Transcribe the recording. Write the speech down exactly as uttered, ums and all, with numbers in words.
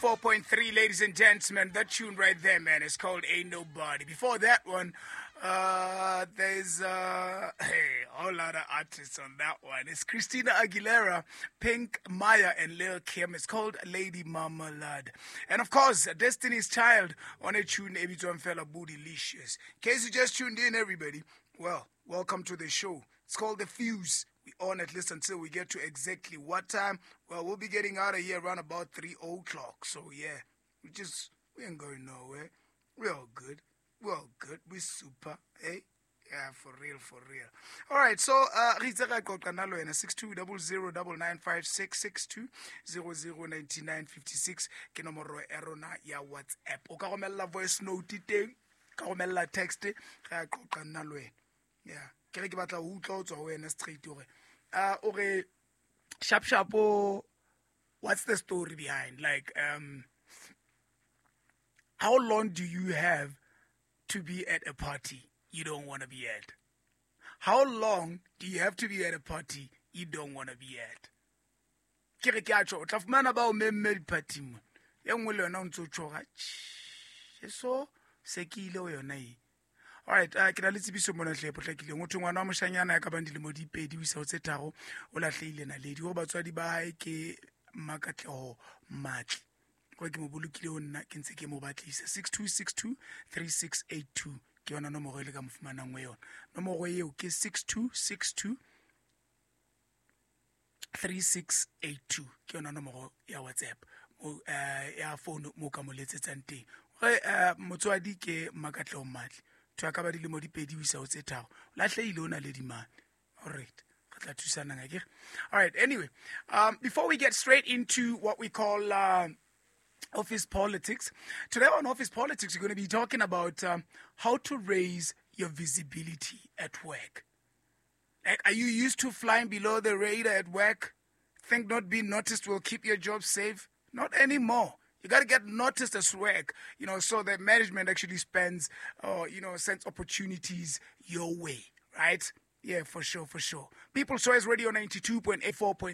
Four point three, ladies and gentlemen, that tune right there, man, is called Ain't Nobody. Before that one, uh, there's uh, hey, a whole lot of artists on that one. It's Christina Aguilera, Pink, Maya, and Lil Kim. It's called Lady Marmalade. And of course, Destiny's Child on a tune, e bitswang fela Bootylicious. In case you just tuned in, everybody, well, welcome to the show. It's called The Fuse. We on at least until we get to exactly what time. Well, we'll be getting out of here around about three o'clock. So, yeah, we just, we ain't going nowhere. We're all good. We're all good. We're super, eh? Yeah, for real, for real. All right, so, uh, re itse ra qoqa nna le wena, six two double zero double nine five six, six two zero zero ninety nine fifty six ke nomoro ya rona ya WhatsApp. O ka romella voice note teng, ka romella text, re a qoqa nna le wena. Yeah. Ke re ke batla ho utlwa ho tswa ho wena straight hore, uh, o re sharp sharp, o, what's the story behind? Like, um, how long do you have to be at a party you don't wanna be at? How long do you have to be at a party you don't wanna be at? Ke re ke a tjho, o tla fumana ba o memme di-party-ing mona. E nngwe le yona o ntso tjho, tjhe, so se ke ile ho yona e. All right, uh, ke na le tsebiso mona hle e potlakileng. Ho thwe ngwana wa moshanyana ya ka bang dilemo di pedi ho isa ho tse tharo, o lahlehile naledi. Hore batswadi ba hae ke Mmakatleho Matli. Hore ke mo bolokile ho nna, ke ntse ke mo batlisa. six two six two, three six eight two ke yona nomoro e le ka mo fumanang ho yona. Nomoro eo ke six two six two, three six eight two ke yona nomoro ya WhatsApp, mo, eh, ya phone mo ka mo letsetsang teng. Hore, eh, motswadi ke Mmakatleho Matli. Motho a ka ba dilemo di pedi ho isa ho tse tharo. O lahlehile o naledi mane. All right. Re tla thusanang, akere? All right. Anyway, um, before we get straight into what we call, uh, office politics, today on Office Politics, we're gonna be talking about, um, how to raise your visibility at work. Like, are you used to flying below the radar at work? Think not being noticed will keep your job safe? Not anymore. You gotta get noticed as work, you know, so that management actually spends, or, uh, you know, sends opportunities your way, right? Yeah, for sure, for sure. People's Choice Radio ninety-two point eight four point